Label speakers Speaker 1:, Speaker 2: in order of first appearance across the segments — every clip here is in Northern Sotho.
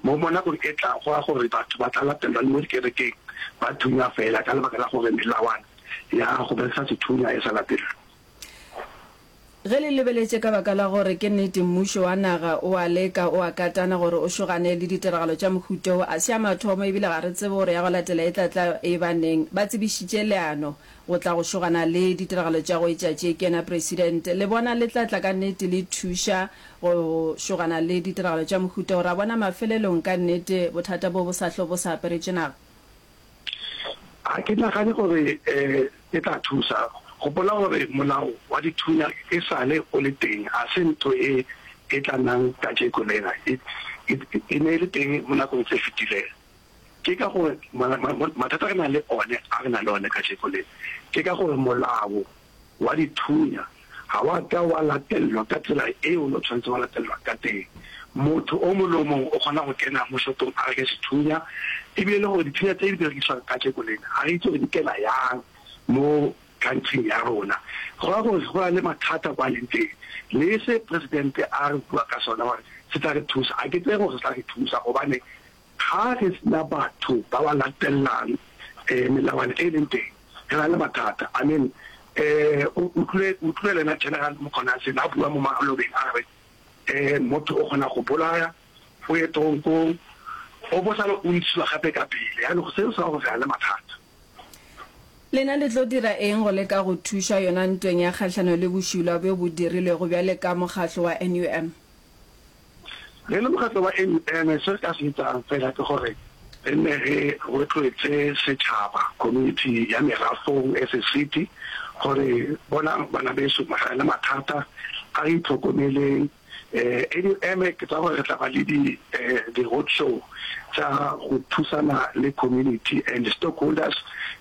Speaker 1: Mo mo nakong e tlago go ra gore batho ba tla latelwa le mo dikerekeng ba thunywa fela ka lebaka la gore melawana ya go berekisa sethunya e sa latelwe.
Speaker 2: Ge le lebeletše ka baka la gore ke nnete mmušo wa naga o a leka, o a katana gore o šogane le ditiragalo tša mohuta wo, a se ya mathomo ebile ga re tsebe gore ya go latela e tla tla e ba neng. Ba tsebišitše leano go tla go šogana le ditiragalo tša go etša tše. Ke yena Presidente. Le bona le tla tla ka nnete le thuša go šogana le ditiragalo tša mohuta wo, ra bona mafelelong ka nnete bothata bo bo sa hlo bo sa aperetše naga?
Speaker 1: Ga ke nagane gore E tla thusa. Gopola gore molao wa dithunya e sa le o le teng, ga se ntho e e tla nang kajeko lena. E, e, e ne e le teng mo nakong tse fetileng. Ke ka gore mathata re nang le one, a re nang le one kajeko lena, ke ka gore molao wa dithunya ga wa ka wa latelelwa ka tsela eo o ne o tshwanetse wa latelelwa ka teng. Motho o mongwe le o mongwe o kgona go kena mo shopong a reke sethunya, ebile le gore dithunya tse di berekiswang kajeko lena ga re itse gore di kena yang mo country-ing ya rona. Go raya gore go na le mathata kwa leng teng. Le se presidente a re bua ka sona gore se tla re thusa, ga ke tseye gore se tla re thusa gobane Ga re sena batho ba ba latellang melawana e leng teng, re na le mathata. I mean, o utlwile, o utlwile le ena General Mkhwanazi na bua mo malobeng a re, motho o kgona go bolaya, o ye toronkong, o bo sale o ntshiwa gape ka pele. Jaanong seo se ra gore re na le mathata.
Speaker 2: Lena le tlo dira eng go leka go thuša yona ntweng ya kgahlano le bošula bjo bo dirilwego bjale ka mokgahlo wa NUM?
Speaker 1: Re le mokgatlo wa NUM se re ka se etsang fela ke gore re nne re rotloetse setšhaba, community ya merafong as a city gore bonang bana beso re na le mathata a re itlhokomeleng. NUM ke tsaya gore re tla ba le di di road show tsa go thusana le community and stockholders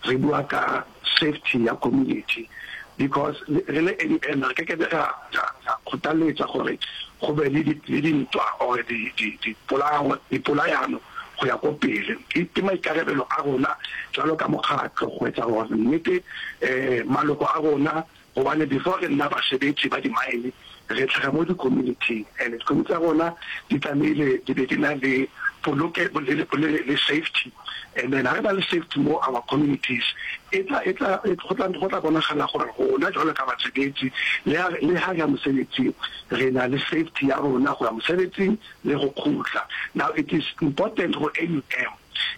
Speaker 1: re bua ka safety ya community because re le NUM re ke ke ra ra kgothaletsa gore go be le le dintwa or di di dipolao dipolayano go ya ko pele. Ke maikarabelo a rona jwalo ka mokgatlo go etsa gore nnete um maloko a rona Gobane before re nna basebetsi ba di-mine, re tlhaga mo di-community-ing and di-community tsa rona di tlamehile di be di na le poloke le, le, le safety. And then ha re na le safety mo our communities, e tla, e tla, go tla, go tla bonagala gore rona jwalo ka basebetsi le ha, le ha re ya mosebetsing, re na le safety ya rona go ya mosebetsing le go kgutla. Now it is important go NUM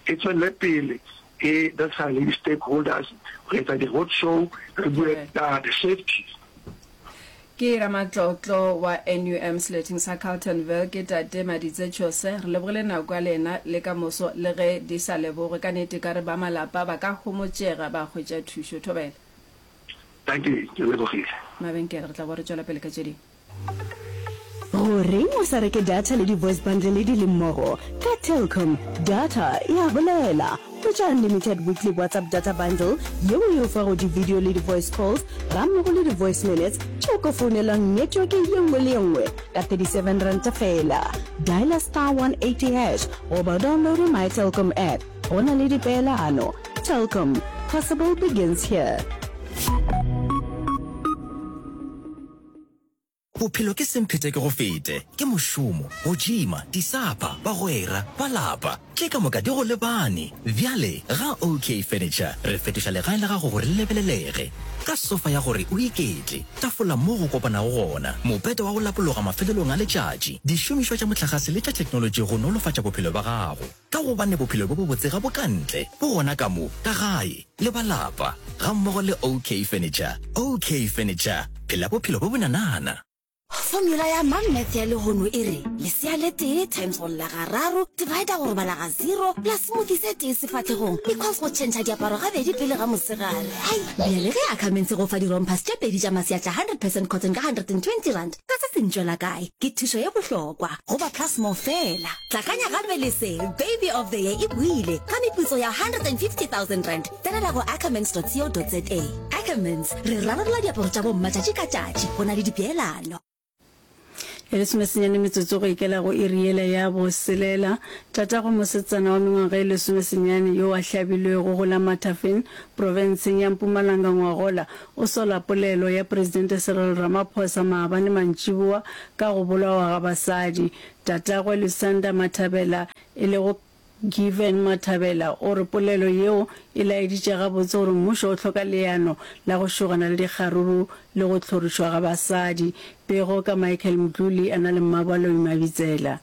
Speaker 1: e tswelle pele E berekisana le di-stakeholders go etsa di-road show, re bue ka the safety.
Speaker 2: Ke ramatlotlo wa NUM seleteng sa Carltonville ke Tate Maditse Tshose. Re lebogile nako ya lena le ka moso le ge di sa lebogwe. Ka nnete ka re ba malapa ba ka homotšega ba hwetša thušo. Thobela.
Speaker 1: Dankie, ke lebogile.
Speaker 2: Mabenkele, re tla boa re tšwela pele ka tše dingwe.
Speaker 3: Goreng o sa reke data le di-voice bundle di le mmogo? Ka Telkom, data e a bolela. Hwetša unlimited weekly WhatsApp data bundle yeo e o fago di-video le di-voice calls gammogo le di-voice minutes tšeo ka founelwang network ye nngwe le ye nngwe ka R37 feela. Dialer star 180 hash goba o downloade My Telkom app. Go na le dipeelano. Telkom, possible begins here.
Speaker 4: Bophelo ke semphete ke go fete, ke mošomo, go tšima, disapa, bagwera, ba lapa, tše ka moka di go lebane. Bjale ga OK Furniture re fetoša legae la gago gore le lebelelege. Ka sofa ya gore o iketle, tafola mo go kopanago gona, mopete wa go lapologa mafelelong a letšatši, dišomišwa tša mohlagase le tša theknolotši go nolofatša bophelo bja gago. Ka gobane bophelo bjo bobotse ga bo ka ntle, bo gona ka mo, ka gae, le ba lapa, gammogo le OK Furniture. OK Furniture, phela bophelo bjo bonanana.
Speaker 5: Formula ya Mammath ya lehono e re, lesea le tee times go lla gararo divider go robala ga zero plus smoothie se tee sefahlegong equals go tšhentšha diaparo gabedi pele ga mosegare. Hai! Bjale ge Ackermans e go fa di-rompers tše pedi tša masea tša 100 percent cotton ka R120, ka se se ntšwela kae? Ke thušo ye bohlokwa go ba Plus More fela. Tlakanya gape le se, Baby of the Year e boile ka meputso ya R150 000. Tsenela go ackermans.co.za. Ackermans, re rarolla diaparo tša bomma tšatši ka tšatši go na le dipeelano.
Speaker 6: E lesomesenyane metsotso go ikela go iri yela ya boselela, tatago mosetsana wa mengwaga e lesomesenyane yo a hlabilwego go la Mathafeng, profenseng ya Mpumalanga ngwagola, o sola polelo ya Presidente Cyril Ramaphosa maabane mantšiboa ka go bolawa ga basadi. Tatagwe Lusanda Mathabela. e lego Given Mathabela o re polelo yeo e laeditše gabotse gore mmušo o hloka leano la go šogana le dikgaruru le go hlorišwa ga basadi. Pego ka Michael Mdluli a na le Mmabaloi Mabitsela.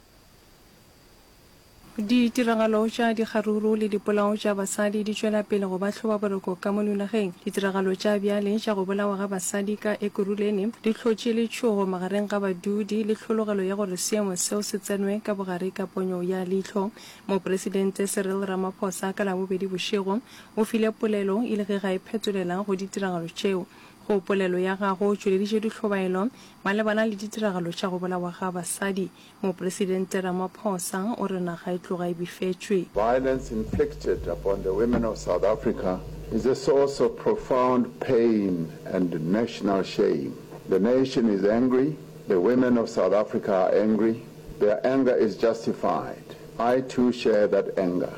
Speaker 7: Ditiragalo tša dikgaruru le dipolao tša basadi di tšwela pele go ba hlobaboroko ka mono nageng. Ditiragalo tša bjale tša go bolawa ga basadi ka Ekurhuleni di hlotše letšhogo magareng ga badudi le hlologelo ya gore seemo seo se tsenwe ka bogare ka ponyo ya leihlo. Mopresidente Cyril Ramaphosa ka Labobedi bošego o file polelo e le ge ga e phetolela go ditiragalo tšeo. Go polelo ya gagwe o tšweleditše dihlobaelo malebana le ditiragalo tša go bolawa ga basadi. Mopresidente Ramaphosa o re naga e tloga e befetšwe.
Speaker 8: Violence inflicted upon the women of South Africa is a source of profound pain and national shame. The nation is angry, the women of South Africa are angry, their anger is justified. I too share that anger.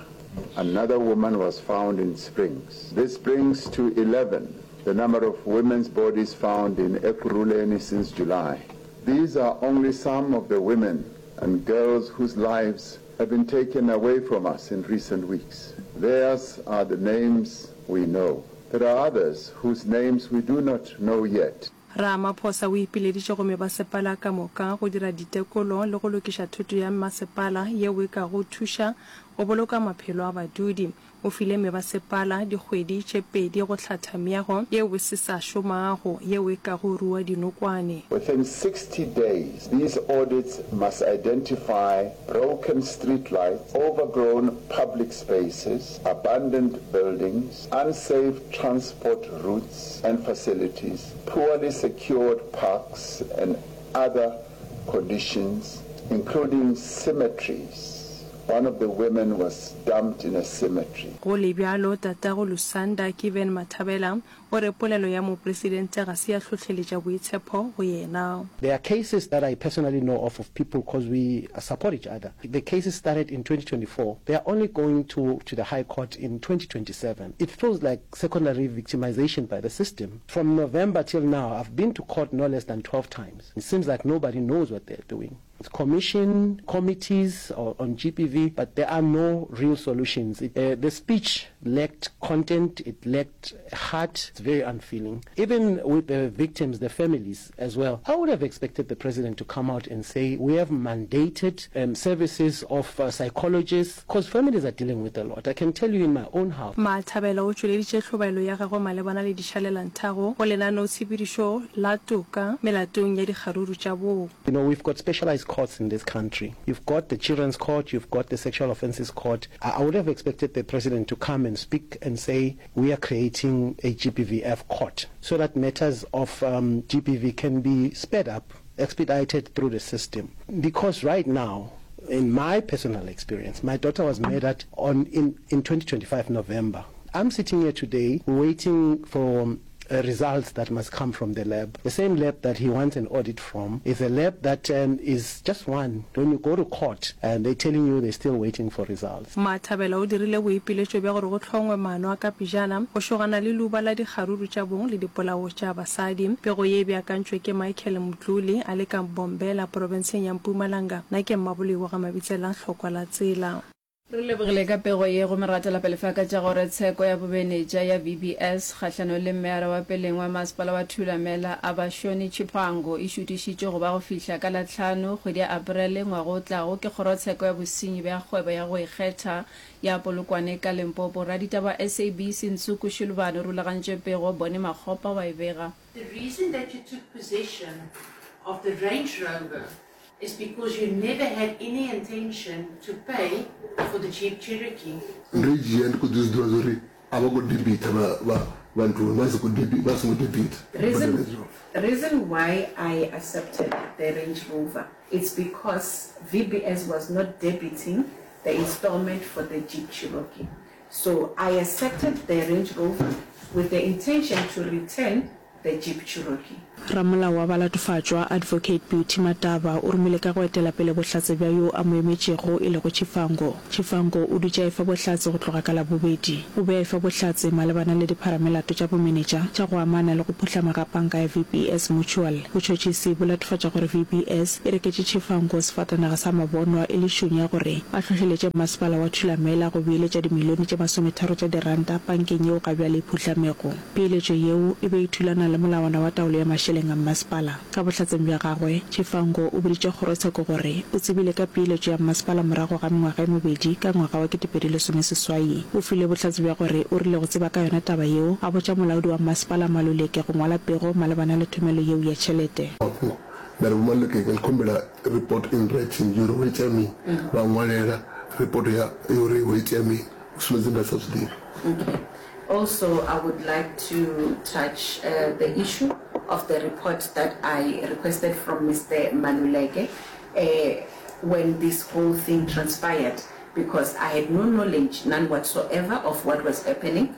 Speaker 8: Another woman was found in Springs. This brings to 11 the number of women's bodies found in Ekurhuleni since July. These are only some of the women and girls whose lives have been taken away from us in recent weeks. Theirs are the names we know. There are others whose names we do not know yet.
Speaker 7: Ramaphosa o ipileditše go mebasepala ka moka go dira ditekolo le go lokiša thoto ya mmasepala yeo e kago thuša go boloka maphelo a badudi. O file mebasepala dikgwedi tše pedi go hlatha meago yeo e se sa šomago yeo e kago rua dinokwane.
Speaker 8: Within 60 days, these audits must identify broken street lights, overgrown public spaces, abandoned buildings, unsafe transport routes and facilities, poorly secured parks and other conditions, including cemeteries. One of the women was dumped in a cemetery.
Speaker 7: Go le bjalo, tatago Lusanda, Given Mathabela, o re polelo ya mopresidente ga se ya hlohleletša boitshepo go yena.
Speaker 9: There are cases that I personally know of of people cause we support each other. The cases started in 2024, they are only going to to the High Court in 2027. It feels like secondary victimization by the system. From November till now, I've been to court no less than 12 times. It seems like nobody knows what they're doing. Commission, committees on GBV, but there are no real solutions. It, uh, the speech lacked content, it lacked heart, it's very unfeeling. Even with the victims, the families as well, I would have expected the president to come out and say, we have mandated um, services of uh, psychologists, because families are dealing with a lot. I can tell you in my own house.
Speaker 7: Mathabela o tšweleditše hlobaelo ya gagwe malebana le dišalelanthago go lenaneotshepedišo la toka melatong ya dikgaruru tša bong.
Speaker 9: You know, we've got specialized courts in this country. You've got the children's court, you've got the sexual offences court. I, I would have expected the president to come and speak and say, we are creating a GBVF court so that matters of um, GBV can be sped up, expedited through the system. Because right now, in my personal experience, my daughter was murdered on in, in 2025 November. I'm sitting here today waiting for results that must come from the lab. The same lab that he wants an audit from is a lab that um, is just one. When you go to court and they're telling you they're still waiting for results.
Speaker 7: Mathabela o dirile boipiletšo bja gore go hlongwe maano a ka pejana go šogana le leuba la dikgaruru tša bong le dipolao tša basadi. Pego ye e beakantšwe ke Michael Mdluli a le ka Mbombela, profenseng ya Mpumalanga. Nna ke Mmaboloi wa ga Mabitsela, Hlokwa la Tsela.
Speaker 2: Re lebogile ka pego ye gomme ra tšwela pele fa ka tša gore tsheko ya bomenetša ya VBS kgahlanong le meyara wa peleng wa masepala wa Thulamela Abashoni Tshiphango e šutišitšwe go ba go fihla ka la hlano kgwedi ya Aprele ngwaga o tlago ke kgorotsheko ya bosenyi bja kgwebo ya go ikgetha ya Polokwane ka Limpopo. Raditaba wa SABC Nsuku Shilubane o rulagantše pego, Bonnie Makgopa wa e bega.
Speaker 10: The reason that you took possession of the Range Rover is because you never had any intention to pay for the Jeep Cherokee.
Speaker 11: Ndo i dzhia ndi khou ḓi zwi ḓivha zwa uri a vha khou debitha vha vha vha nthuni vha si khou debi vha songo debitha
Speaker 10: Reason reason why I accepted the Range Rover it's because VBS was not debiting the installment for the Jeep Cherokee so I accepted the Range Rover with the intention to return. the Jeep Cherokee.
Speaker 12: Ramolao wa balatofatšwa, Advocate Beauty Mataba, o romile ka go etela pele bohlatse bja yo a mo emetšego e lego Chifango. Chifango o dutše a efa bohlatse go tloga ka Labobedi. O be a efa bohlatse malebana le dipharamelato tša bomenetša tša go amana le go phuhlama ga panka ya VBS Mutual. Botšhotšhisi bo latofatša gore VBS e reketše Chifango sefatanaga sa mabonwa e le šunya gore a hlohleletše mmasepala wa Thulamela go beeletša dimilione tše masometharo tša diranta pankeng yeo gabjale e phuhlamego. Peeletšo yeo e be e thulana le molawana wa taolo ya mašeleng a mmasepala. Ka bohlatseng bja gagwe, Chifango o boditše kgorotsheko gore o tsebile ka peeletšo ya mmasepala morago ga mengwaga e mebedi ka ngwaga wa 2018. O file bohlatse bja gore o rile go tseba ka yona taba yeo, a botša molaodi wa mmasepala Maluleke go ngwala pego malebana le thomelo yeo ya tšhelete.
Speaker 11: Mafhungo, Nda ri Vho Maluleke ndi khou humbela report in writing ya uri ho itea mini, vha ṅwalela report ya uri ho itea mini u sumbedza nda sa zwi ḓivhi.
Speaker 10: Okay. Also I would like to touch the issue of the report that I requested from Mister Maluleke when this whole thing transpired because I had no knowledge, none whatsoever, of what was happening.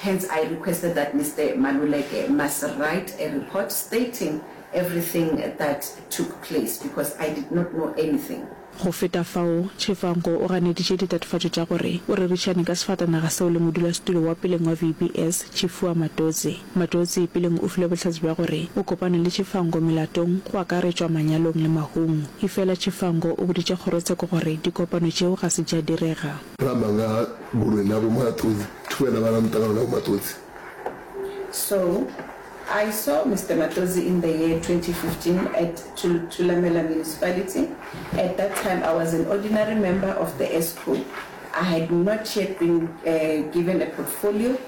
Speaker 10: Hence I requested that Mister Maluleke must write a report stating everything that took place because I did not know anything.
Speaker 12: Go feta fao, Tshifhango o ganeditše ditatofatšo tša gore o rerišane ka sefatanaga seo le modulasetulo wa peleng wa VBS, Tshifua Matodzi. Matodzi peleng o file bohlatse bja gore o kopane le Tshifhango melatong go akaretšwa manyalong le mahung. Efela Tshifhango o boditše kgorotsheko gore dikopano tšeo ga se tša direga.
Speaker 11: Ra amba nga ha goloi na Vho Matodzi, thi vhuya nda vha na muṱangano na Vho Matodzi.
Speaker 10: So, I saw Mister Matodzi in the year 2015 at Thulamela Municipality. At that time I was an ordinary member of the ESCO. I had not yet been given a portfolio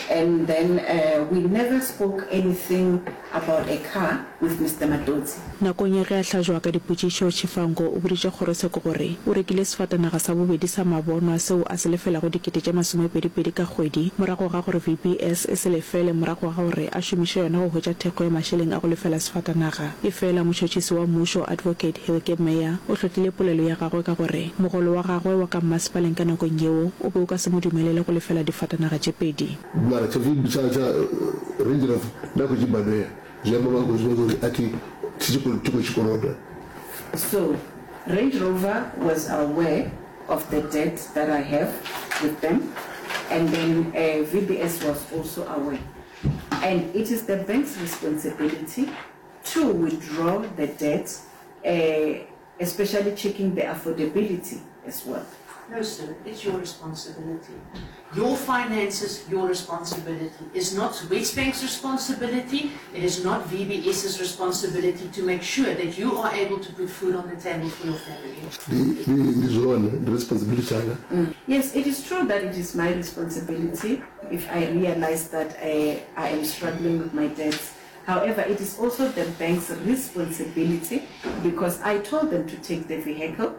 Speaker 10: and then we never spoke anything about a car with Mister Matodzi.
Speaker 12: Nakong ya ge a hlajwa ka dipotšišo, Tshifhango o boditše kgorotsheko gore o rekile sefatanaga sa bobedi sa mabonwa seo a se lefelago dikete tše masomepedipedi ka kgwedi morago ga gore VBS e se lefele morago ga gore a šomiše yona go hwetša thekgo ya mašeleng a go lefela sefatanaga. Efela motšhotšhisi wa mmušo Advocate Hilke Meyer o hlotlile polelo ya gagwe ka gore mogolo wa gagwe wa ka mmasepaleng ka nakong yeo o be o ka se mo dumelele go lefela difatanaga tše pedi.
Speaker 11: Mara tsha tsha Range Rover nda khou tshi badela. Zwi amba vha khou zwi vhona uri a thi thi tshi khou tshikoloda.
Speaker 10: So Range Rover was aware of the debt that I have with them and then VBS was also aware and it is the bank's responsibility to withdraw the debt especially checking the affordability as well.
Speaker 13: No sir, it's your responsibility. Your finances, your responsibility. It's not Wesbank's responsibility, it is not VBS's responsibility to make sure that you are able to put food on the table for your family.
Speaker 11: Ndi, ndi, ndi zwone, ndi responsibility tshanga.
Speaker 10: Yes, it is true that it is my responsibility if I realize that I am struggling with my debts. However, it is also the bank's responsibility because I told them to take the vehicle.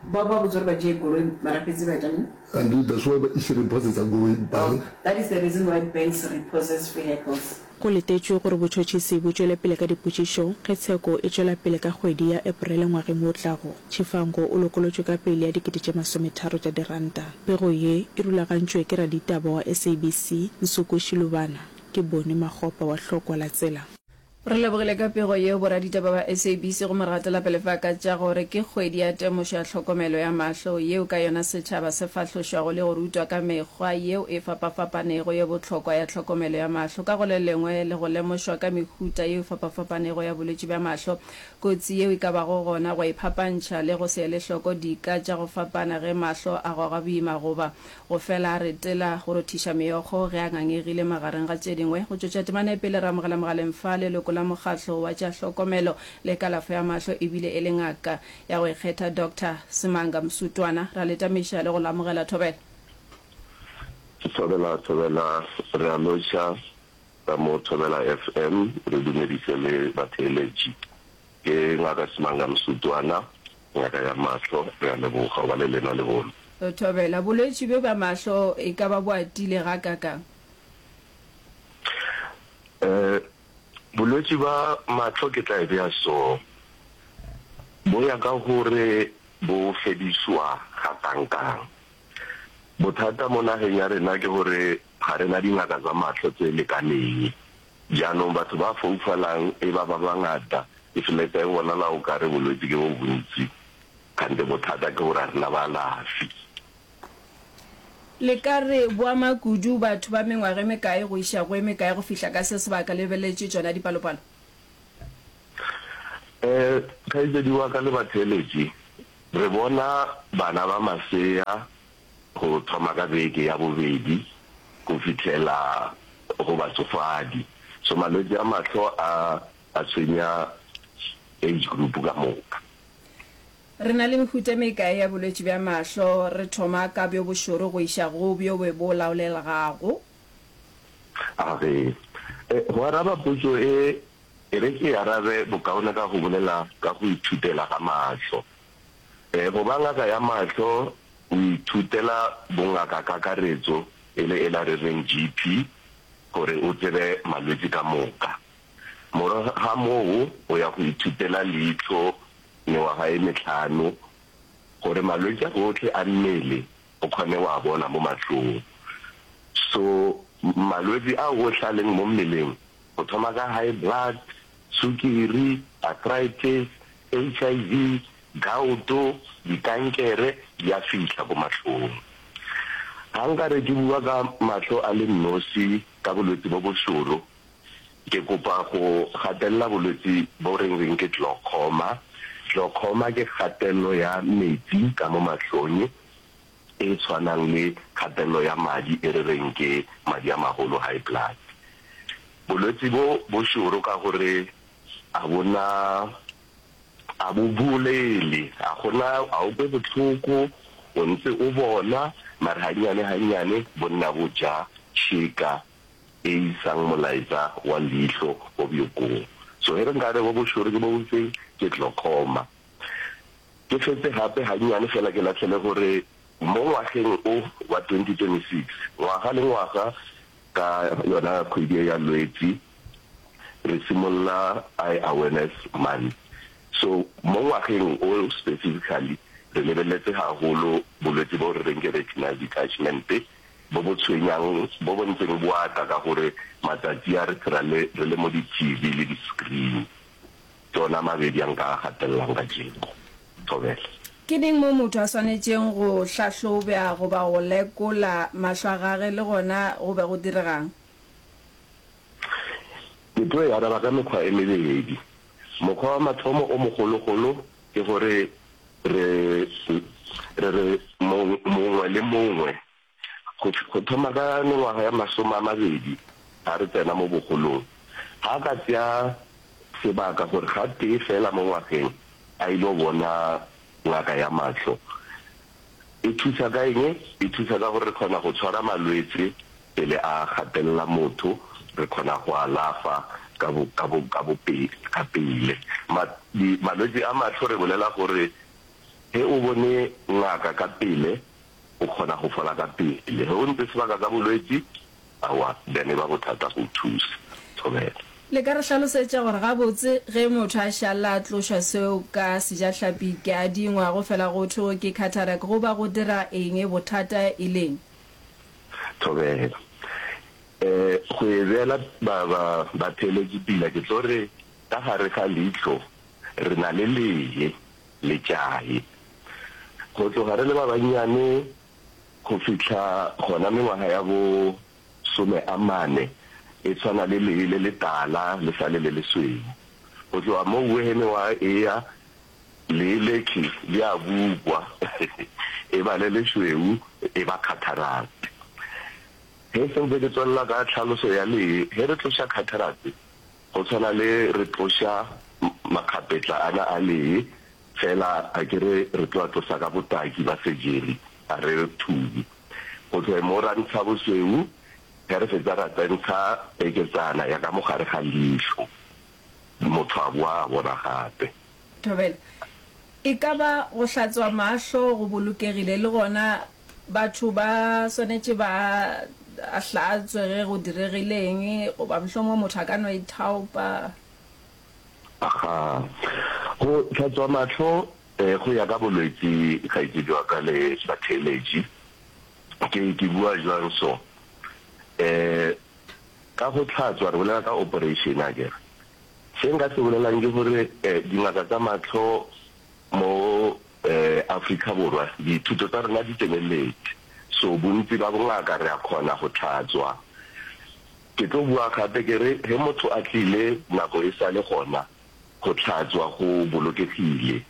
Speaker 10: Ba ba vhudza uri vha dzhie goloi mara fhedzi vha ita mini?
Speaker 11: And that's why vha i tshi repossessa goloi bank.
Speaker 10: That is the reason why banks repossess vehicles.
Speaker 12: Go letetšwe gore botšhotšhisi bo tšwele pele ka dipotšišo ge tsheko e tšwela pele ka kgwedi ya Eporele ngwageng wo tlago. Tshifhango o lokolotšwe ka peile ya 30,000 tša diranta. Pego ye e rulagantšwe ke raditaba wa SABC, Nsuku Shilubana. Ke Boni Makgopa wa Hlokwa la Tsela.
Speaker 2: Re lebogile ka pego yeo boraditaba ba SABC gomme re gatela pele fa ka tša gore ke kgwedi ya temošo ya tlhokomelo ya mahlo yeo ka yona setšhaba se fahlošwago le go rutwa ka mekgwa yeo e fapafapanego ye bohlokwa ya tlhokomelo ya mahlo ka go le lengwe le go lemošwa ka mehuta yeo e fapafapanego ya bolwetši bja mahlo kotsi yeo e ka bago gona go iphapantšha le go se ele hloko dika tša go fapana ge mahlo a goga boima goba Go fela a retela go rothiša meokgo ge a ngangegile magareng ga tše dingwe. Go tšwetša temana e pele re amogela mogaleng fa leloko la mokgatlo wa tša hlokomelo le kalafo ya mahlo ebile e le ngaka ya go ikgetha Doctor Semanga Msutwana. Ra le tamiša le go le amogela Thobela.
Speaker 14: Thobela Thobela re a lotšha ka mo Thobela FM re dumedise le batheeletši. Ke Ngaka Simanga Msutwana, ngaka ya mahlo. Re a leboga go ba le lena lehono.
Speaker 2: Thobela, Bolwetši bjo bja mahlo e ka ba bo atile gakakang?
Speaker 14: Eh, bolwetši bja mahlo ke tla e bea so, bo ya ka gore bo fedišwa gakankang. Bothata mo nageng ya rena ke gore ga re na dingaka tsa mahlo tse lekaneng. Jaanong batho ba foufalang e ba ba bangata, e feletsa e bonala o kare bolwetsi ke bo bontsi, kgante bothata ke gore ga re na baalafi.
Speaker 2: Le ka re bo ama kudu batho ba mengwaga e mekae go iša go e mekae go fihla ka se sebaka le lebeletše tšona dipalopalo?
Speaker 14: Eh, kgaetšedi wa ka le batheeletši, re bona bana ba masea go thoma ka beke ya bobedi go fihlela go batšofadi. So malwetši a mahlo a a tshwenya age group ka moka.
Speaker 2: Re na le mehuta e mekae ya bolwetši bja mahlo, re thoma ka bjo bošoro go iša go bjo bo laolelgago?
Speaker 14: A re, Go araba potšo e, e re ke e arabe bokaone ka go bolela ka go ithutela ga mahlo. Go ba ngaka ya mahlo o ithutela bongakakakaretso e le ela re reng GP gore o tsebe malwetši ka moka. Morago ga moo o ya go ithutela leihlo mengwaga e mehlano gore malwetši a ohle a mmele o kgone wa bona mo mahlong. So malwetši a ohle a leng mo mmeleng go thoma ka high blood, sukiri, arthritis, HIV, gout, dikankere di a fihla ko mahlong. Ga nka re ke bua ka mahlo a le nnosi ka bolwetsi bo bošoro, ke kopa go gatelela bolwetsi bo re reng ke glaucoma. Glaucoma ke kgatello ya metsi ka mo mahlong e tshwanang le kgatello ya madi e re reng ke madi a magolo, high blood. Bolwetsi bo bošoro ka gore a bo na, a bo bolele, a go na, a o kwe bohloko, o ntse o bona, mare gannyane gannyane bo nna bo ja tšhika e isang molaetša wa leihlo ko bjokong. So ge re nka re bo bošoro ke bo bofeng, ke glaucoma. Ke fetse gape gannyane fela ke lahlele gore mo ngwageng o wa 2026, ngwaga le ngwaga ka yona kgwedi e ya Lwetsi, re simolola Eye Awareness Month. So mo ngwageng o specifically re lebeletse haholo bolwetsi bo re reng ke retinal detachment bo bo tshwenyang bo bo ntseng bo ata ka gore matsatsi a re phela le re le mo di TV le di screen. Ke ona mabedi a nka a gatelelang kajeno. Thobela.
Speaker 2: Ke neng mo motho a swanetšeng go hlahlobja goba go lekola mahlo a gage le gona go be go direga'ng?
Speaker 14: Ke tlo e araba ka mekgwa e mebedi. Mokgwa wa mathomo o mogologolo ke gore re re re mongwe le mongwe go go thoma ka mengwaga ya masome a mabedi ga re tsena mo bogolong, ga a ka tšea sebaka gore gatee fela mo ngwageng a ile bona ngaka ya mahlo. E thusa ka eng? E thusa ka gore re kgona go tshwara malwetse pele a gatelela motho, re kgona go alafa ka bo, ka bo, ka bo pe, ka pele. Ma, di, malwetse a mahlo re bolela gore ge o bone ngaka ka pele, o kgona go fola ka pele. Ge o ntse sebaka ka bolwetši, aowa, then e ba bothata go o thusa. Thobela.
Speaker 2: Le ka re hlalosetša gore gabotse ge motho a šalla a tlošwa seo ka sejahlapi ke a dingwa go fela go thwe ke cataract go ba go dira eng bothata e leng?
Speaker 14: Thobela. E, go e beela ba, ba, batheeletši pila ke tlo re ka gare ga leihlo re na le lee le tšae. Go tloga re le ba bannyane go fihla gona mengwaga ya bo some a mane e tshwana le lee le letala le sa le le lesweu. Go tloga moo ge mengwaga e ya, lee lekhi le a bukwa, e ba le lešweu, e ba cataract. Ge sentse ke tswelela ka tlhaloso ya lee, ge re tloša cataract, go tshwana le re tloša makgapetla ana a lee, fela a ke re re tlo a tlosa ka botaki ba surgery, a re thubi. Go tloge mo ra ntsha bosweu, ge re fetsa ra tsentsha peketsana ya ka mo gare ga leihlo, motho a boa a bona gape.
Speaker 2: Thobela, E ka ba go hlatswa mahlo go bolokegile le gona batho ba swanetše ba a hlatswe ge go diregile eng goba mohlomongwe motho a ka no ithaopa?
Speaker 14: Aga, go hlatswa mahlo go ya ka bolwetši kgaetšedi wa ka le batheeletši. Ke, ke bua jwang so? Ka go hlatswa re bolela ka operation akere. Se nka se bolelang ke gore dingaka tsa mahlo mo Afrika Borwa dithuto tsa rena di tseneletše, so bontsi ba bongaka re a kgona go hlatswa. Ke tlo bua gape ke re ge motho a tlile nako e sa le gona, go hlatswa go bolokegile.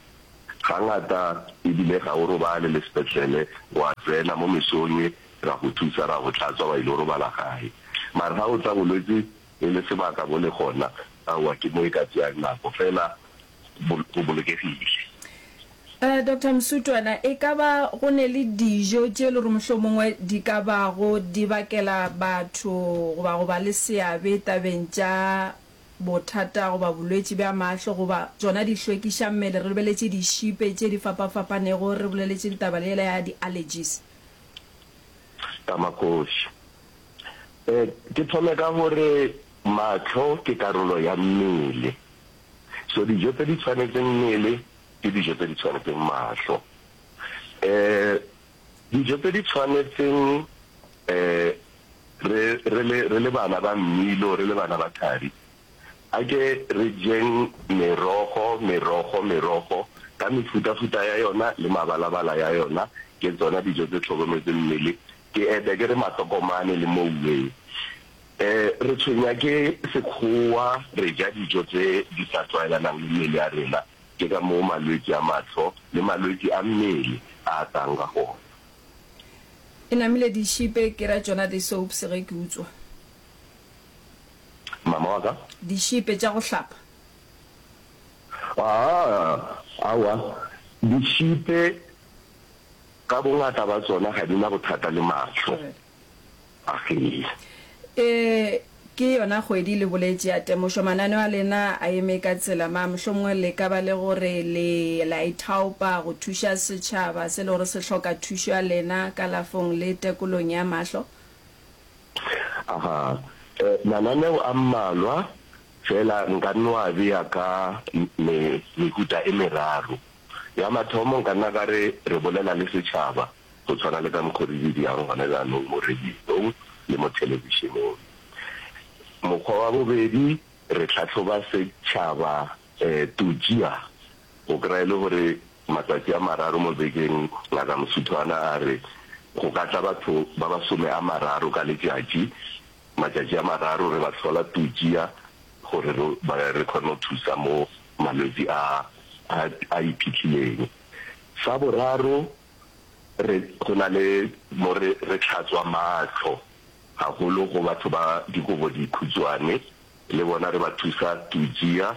Speaker 14: Gangata ebile ga o robale le sepetlele, wa tsena mo mesong ra go thusa ra go hlatswa wa ilo robala gae. Mara ga o tla bolwetsi e le sebaka bo le gona, aowa ke mo e ka tšeang nako, fela go bolokegile.
Speaker 2: Doctor Msutwana, e ka ba go ne le dijo tše e le gore mohlomongwe di ka bago di bakela batho goba go ba le seabe tabeng tša bothata goba bolwetši bja mahlo goba tšona di hlwekiša mmele, re lebeletše dišipe tše di fapafapanego, re boleletše le taba yela ya di-allergies?
Speaker 14: Tamakgoši. Ke thome ka gore mahlo ke karolo ya mmele. So dijo tse di tshwanetseng mmele ke dijo tse di tshwanetseng mahlo. Dijo tse di tshwanetseng re re le re le bana ba mmilo, re le bana ba thari, a ke re jeng merogo, merogo, merogo ka mefutafuta ya yona le mabalabala ya yona, ke tsona dijo tse tlhokometseng mmele. Ke ete ke re matokomane le mouwe. Re tshwenya ke sekgowa, re ja dijo tse di sa tlwaelanang le mmele ya rena, ke ka moo malwetši a mahlo le malwetši a mmele a atang ka gona.
Speaker 2: E namile dišipe ke ra tšona di soaps ge ke utswa.
Speaker 14: Mama wa ka?
Speaker 2: Dišipe tša go hlapa.
Speaker 14: Aa, aowa, dišipe ka bongata ba tsona ga di na bothata le mahlo. Agee.
Speaker 2: E, ke yona kgwedi le boletše ya temošo. Mananeo a lena a eme ka tsela mang? Mohlomongwe le ka ba le gore le la ithaopa go thuša setšhaba se le gore se hloka thušo ya lena kalafong le tekolong ya mahlo?
Speaker 14: Aga, e, mananeo a mmalwa, fela nka no a bea ka me, mehuta e meraro. Ya mathomo nka nna ka re re bolela le setšhaba. go tshwana le ka mokgo re di dirang gona bjanong mo radiong le mo thelebišeneng. Mokgwa wa bobedi, re hlahloba setšhaba totšia, o kry-a e le gore matsatsi a mararo mo bekeng Ngaka Mosuthwana a re go ka tla batho ba masome a mararo ka letšatši, matšatši a mararo re ba hlola totšia gore re kgone go thusa mo malwetši a a iphihlileng. Sa boraro, Re, go na le mo re, re hlatswa mahlo gagolo go batho ba dikobo dikhutšwane, le bona re ba thusa tujia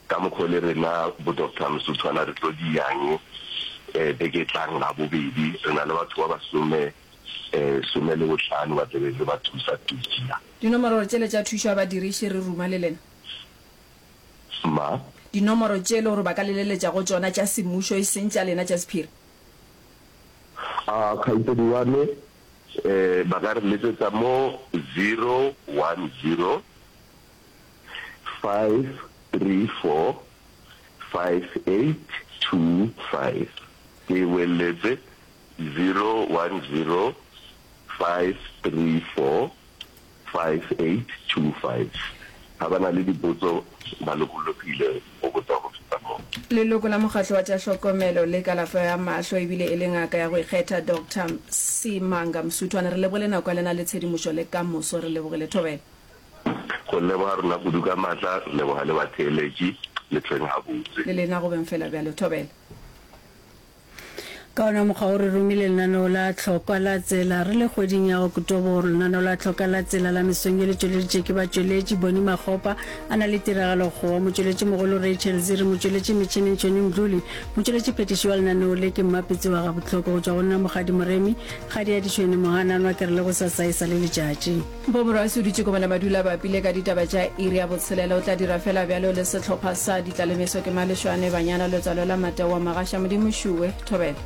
Speaker 14: ka mokgo le rena bo Doctor Msuthwana re tlo di yang beke e tlang Labobedi, re na le batho ba basome, some le bohlano ba tlebe re ba thusa tujia.
Speaker 2: Dinomoro tšele tša thušo ya badiriši re ruma le lena.
Speaker 14: Ma.
Speaker 2: Dinomoro tše le gore ba ka le leletša go tšona tša semmušo e seng tša lena tša sephiri.
Speaker 14: A kgaitsedi wa me, eh, ba ka re letsetsa mo 010 534 5825. Ke e boeletse, 010 534 5825. Ga ba na le dipotso ba lokologile go botsa go feta moo.
Speaker 2: Leloko la Mokgatlo wa tša Hlokomelo le Kalafo ya Mahlo ebile e le ngaka ya go ikgetha Doctor Simanga Msuthwane, re lebogile nako ya lena le tshedimošo le ka moso re lebogile. Thobela.
Speaker 14: Go leboga rena kudu ka maatla, re leboga le batheeletši, le hlweng gabotse.
Speaker 2: Le lena go beng fela bjalo. Thobela.
Speaker 6: Ka wona mokgwa wo re romile lenaneo la Tlhokwa la Tsela re le kgweding ya Oktoboro. Lenaneo la Tlhoka la Tsela la mesong ye le tšweleditše ke batšweletši Bonnie Makgopa a na le Tiragalo Kgowa, motšweletšimogolo Rachel Ziri, motšweletši metšhineng Johnny Mdluli, motšweletši phethiši wa lenaneo le ke Mmapitsi wa Gabohloko. Go tšwa go nna Mokgadi Moremi, Kgadi ya Ditšhwene Mohananwa ke re le gosasa e sa le letšatši.
Speaker 2: Mpho Morwasi o dutše Komana Madula bapile ka ditaba tša iri ya botshelela. O tla dira fela bjalo le sehlopha sa Ditlalemeso ke Malešwane, Banyana, Letswalo la Matewa, Magasha, Modimo Šuwe, Thobela.